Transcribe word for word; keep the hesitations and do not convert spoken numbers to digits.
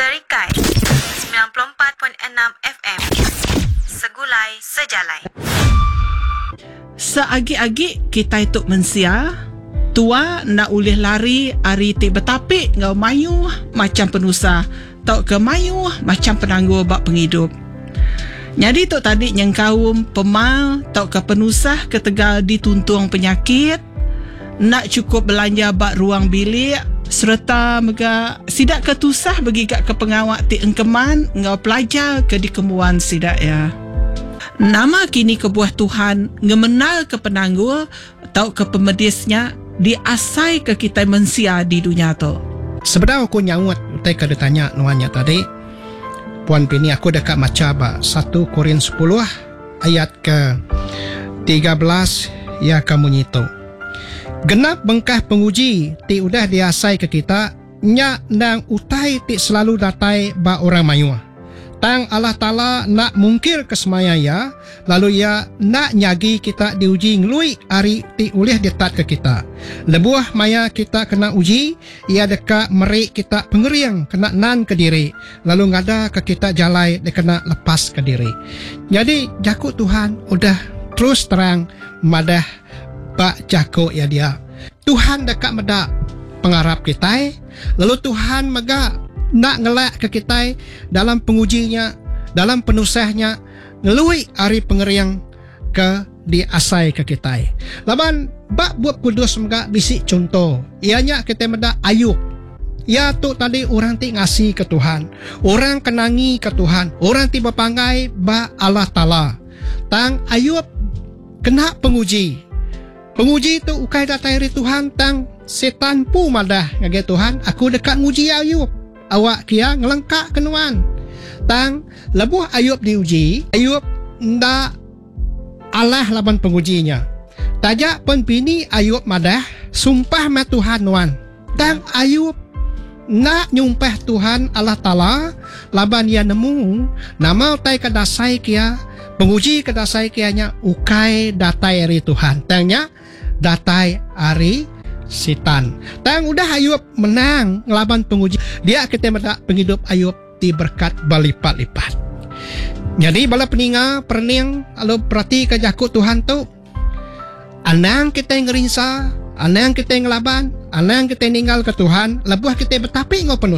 Serikai semilan puluh empat point enam F M Segulai Sejalai. Seagi-agi kitai tu mensia, tua enda ulih lari ari ti betapi enggau mayuh macam penusah tauka mayuh macam penanggul ba pengidup. Nyadi tu tadi nyengkaum pemal tauka penusah ketegal dituntung penyakit, enda cukup belanja ba ruang bilik, sereta mega sida ke tusah begiga ke pengawa ti engkeman enggau pelajar ke dikembuan sida ya. Nama kini kebuah Tuhan ngemenal ke penanggul tauka pemedisnya diasai ke kita mensia di dunia tu? Sebedau aku nyaut utai ke ditanya nuan nya tadi, Puan Pini, aku deka macha ba satu Korin sepuluh ayat ke tiga belas ya ke munyi tu. Genap bengkah penguji ti udah diasai ke kita nya endang utai ti selalu datai ba orang mayuh. Tang Allah Taala nak mungkir ke semaya ia, lalu ia nak nyagi kita diuji ngelui ari ti ulih ditat ke kita. Lebuh maya kita kena uji, ia deka meri kita pengering kena nan ke diri, lalu ngada ke kita jalai dikena lepas ke diri. Jadi jaku Tuhan udah terus terang madah bak jaku ia dia. Tuhan deka meda pengarap kita, lalu Tuhan mega nak ngelak ke kita dalam pengujinya, dalam penusahnya, ngelui ari pengering ke diasai ke kita. Laban bak buat kudus mega bisi contoh. Ianya kita meda Ayub. Ia tu tadi orang ti ngasi ke Tuhan, orang kenangi ke Tuhan, orang ti berpanggai ba Allah Taala. Tang Ayub kena penguji. Penguji tu ukai datai dari Tuhan, tang setan pu madah ngagai Tuhan, aku dekat nguji Ayub. Awak kia ngelengkak kenuan. Tang lebuh Ayub diuji, Ayub ndak Allah laban pengujinya. Tajak pun bini Ayub madah, sumpah ma Tuhan nuan. Tang Ayub nak nyumpah Tuhan Allah Taala laban ia nemu nama utai kedasai kia, penguji kedasai kia nya ukai datai ari Tuhan. Tang nya datai ari setan. Tang udah Ayub menang ngelaban penguji, dia kita meda penghidup Ayub diberkat berlipat-lipat. Jadi bala peninga perening lalu perhati ke jaku Tuhan tu, anang kita ngerinsa, anang kita ngelaban, anang kita ninggal ke Tuhan, lebuh kita betapi ngau penuh.